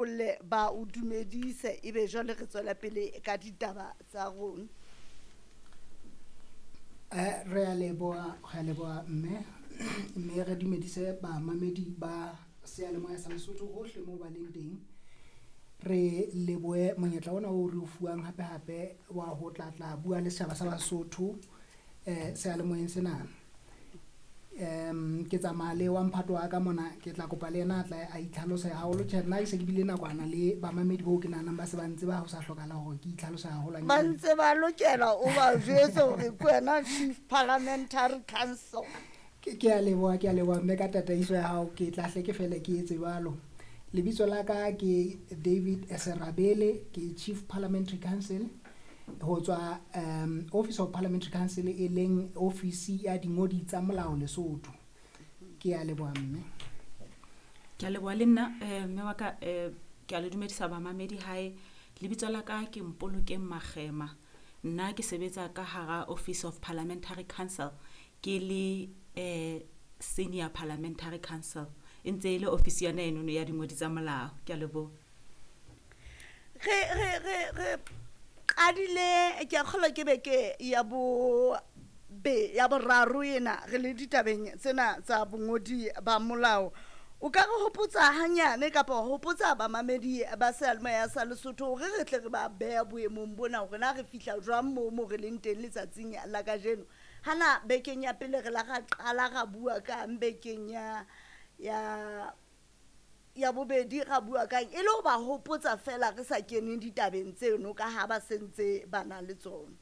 Olle ba o dumedise ebe jwale re tswela pele ka ditaba tsa rona. Re a leboha, re a leboha mme, mme re dumedise bamamedi ba seyalemoya sa Lesotho hohle moo ba leng teng. Re lebohe monyetla ona o re o fuwang hape hape wa ho tla tla bua le setjhaba sa Basotho seyalemoyeng sena. Ke tsamaya le wa mphato wa ka mona, ke tla kopa le yena a tla a itlhalose haholo. Tjhe, nna ke se ke bile nakwana le bamamedi boo ke nahanang ba se ba ntse ba ho sa hlokahala hore ke itlhalose Ba haholwanyane. ntse ba lokela o ba jwetse hore ke wena Chief Parliamentary Council. Ke a leboha, ke a leboha mme ka tataiso ya hao, ke tla hle ke fele ke etse jwalo. Lebitso la ka ke David Serabele, ke Chief Parliamentary Council ho tswa Office of Parliamentary Council, e leng ofisi ya dingodi tsa molao Lesotho. Ke a leboha mme. Ke a leboha le nna mme wa ka, ke a le dumedisa bamamedi hae. Lebitso la ka ke Mpolokeng Makgema. Nna ke sebetsa ka hara Office of Parliamentary Council, ke le Senior Parliamentary Council. E ntse e le ofisi yona enono ya dingodi tsa molao. Ke a leboha. Re qadile, ke a kgolwa ke beke ya bo be ya boraro ena re le ditabeng tsena tsa bongodi ba molao. O ka re hopotsa hanyane kapa wa hopotsa bamamedi ba seyalemoya sa Lesotho hore re tle re ba beha boemong bona hore na re fihla jwang moo mo re leng teng letsatsing la kajeno. Hana bekeng ya pele re la ra qala ra bua kang, bekeng ya bobedi ra bua kang, e le ho ba hopotsa fela re sa keneng ditabeng tseno ka ha ba sentse ba na le tsona.